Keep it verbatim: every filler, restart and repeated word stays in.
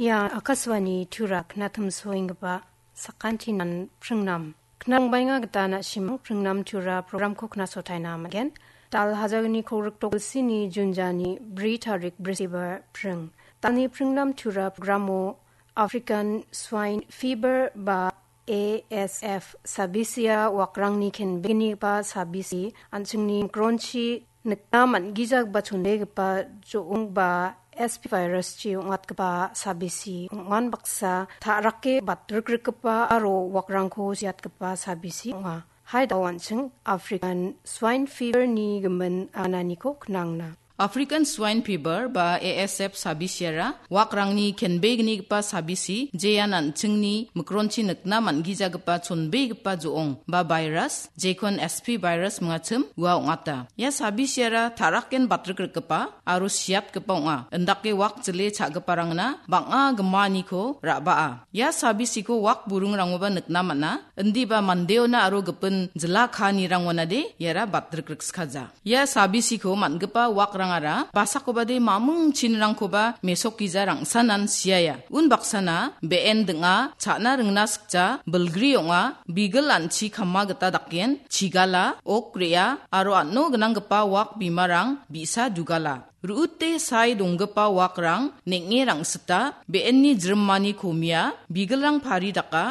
Ia Akashvani Tura knatimsoenggipa sakantinan pringnam. Knangbaenga gita na·simang pringnam Tura programko knasotaina man·gen. Dal hajalni kolgrik dolsini Junjani bri tarik Brisibar pring. Dalni pringnam Tura programo African Swine Fever ba A S F sabisia wakrangni kenbegnigipa sabisi an·chingni mikronchi nikna man·gijagipa chonbegipa jo·ong ba S P virus-chi ong·atgipa sabisi ong·an baksa ta·rake batrikrikgipa aro wakrangko siatgipa sabisi ong·a. Hai dao an·ching African Swine Fever-ni gimin ananiko knangna. African Swine Fever ba A S F sabisiara wakrangni kenbegnigipa sabisi, jean an·chingni mikronchi nikna man·gijagipa chonbegipa jo·ong ba virus, jekon S P virus mingachim ua ong·ata. Ia sabisiara ta·raken batrikrikgipa aro siatgipa ong·a. Indake wak jile cha·giparangna bang·a gimaniko ra·baa. Ia sabisiko wak burungrangoba nikna man·a, indiba mandeona aro gipin jila kaanirangonade iara batrikrikskaja. Ia sabisiko man·gipa wakrangara basakobade mamung chinrangkoba mesokgija rangsanan siaia. Unbaksana be·en ding·a, cha·na ringna sikja, bilgri ong·a, bigil an·chi kama gita dakgen, chigala, ok re·a, aro an·o gnanggipa wak bimarang bi·sa dugala. Ru·ute sae donggipa wakrang neng·e rangsita, be·enni jrimani komia, bigilrang pari daka,